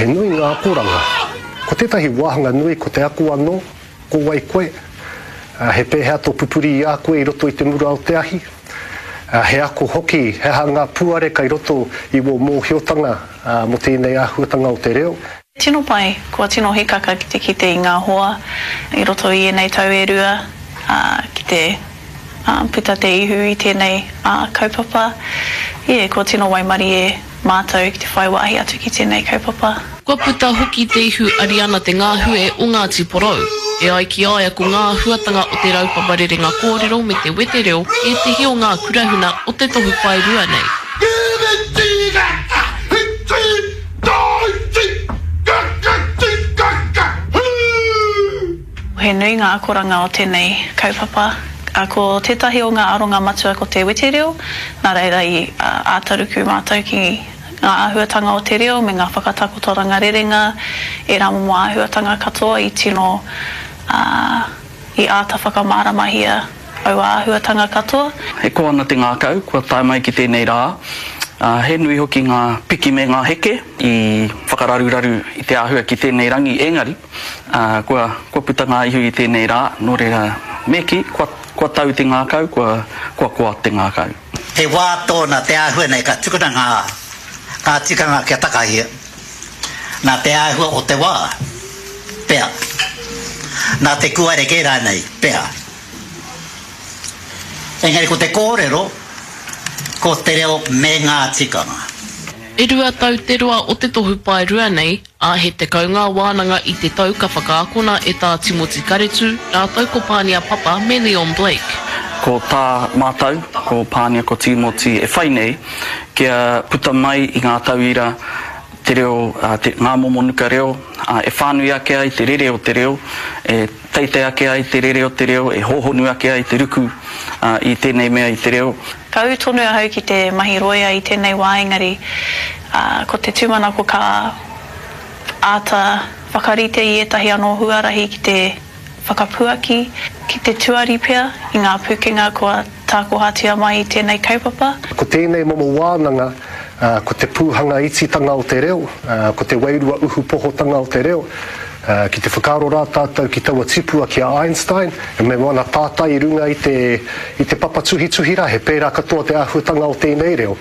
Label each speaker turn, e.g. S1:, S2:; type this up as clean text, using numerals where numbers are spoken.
S1: He nui ngā akoranga. Ko tētahi wāhanga nui ko te ako anō, ko wai koe, he pēhea tō pupuri i a koe i roto i te mura o te ahi, he ako hoki he aha ngā puare kai roto i wō mōhiotanga mō tēnei āhuatanga o te reo.
S2: Tino pai, kua tino hikaka ki te kite i ngā hoa i roto i ēnei tau e rua, ā, ki te puta te ihu i tēnei kaupapa. Ie, kua tino waimarie mātou ki te whai wāhi atu ki tēnei kaupapa.
S3: Kua puta hoki te ihu Ariana Te Ngahue o Ngāti Porou. E ai ki a ia ko ngā āhuatanga o te raupapa rerenga kōrero me te wetereo ētehi o ngā kurahuna o te tohu paerua nei.
S2: He nui ngā akoranga o tēnei kaupapa. Ko tētahi o ngā aronga matua ko te wetereo, nā reira i āta ruku mātou ki ngā āhuatanga o te reo me ngā whakatakotoranga rerenga, ērā momo āhuatanga katoa i tino, i āta whakamāramahia aua āhuatanga katoa.
S4: E koa ana te ngākau kua tae mai ki tēnei rā, ā, he nui hoki ngā piki me ngā heke i whakararuraru i te āhua ki tēnei rangi engari, ā, kua, kua puta ngā ihu i tēnei rā, nō reira, me kī, kua, kua tau te ngākau, kua, kua koa te ngākau.
S5: He wā tōna te āhua nei ka tukuna ngā, ngā tikanga kia takahia, nā te āhua o te wā, pea, nā te kūare kē rānei, pea. Engari ko te kōrero, ko te reo me ngā tikanga.
S3: E rua tau te roa o te tohu paerua nei, ā, he 10 ngā wānanga i te tau ka whakaakona e Tā Timoti Karetu rātou ko Pānia Papa me Leon Blake.
S4: Ko tā mātou, ko Pānia ko Tīmoti e whai nei, kia puta mai i ngā tauira te reo, te, ngā momo nuka reo, ā, e whānui ake ai te rere o te reo, e teitei ake ai te rere o te reo, e hōhonu ake ai te ruku, ā, i tēnei mea i te reo.
S2: Ka ū tonu ahau ki te mahi rōia i tēnei wā engari ko te tūmanako ka āta whakarite i ētahi anō huarahi ki te whakapuaki, ki te tuari pea i ngā pūkenga kua tākohatia mai i tēnei kaupapa.
S1: Ko tēnei momo wānanga, ko te pūhanga ititanga o te reo, ko te wairua uhupohotanga o te reo, Ki te whakaaro rā tātou ki taua tipua ki a Einstein, me wana tātai i runga i te, i te papa tuhituhi rā, he pērā katoa te āhuatanga o tēnei reo.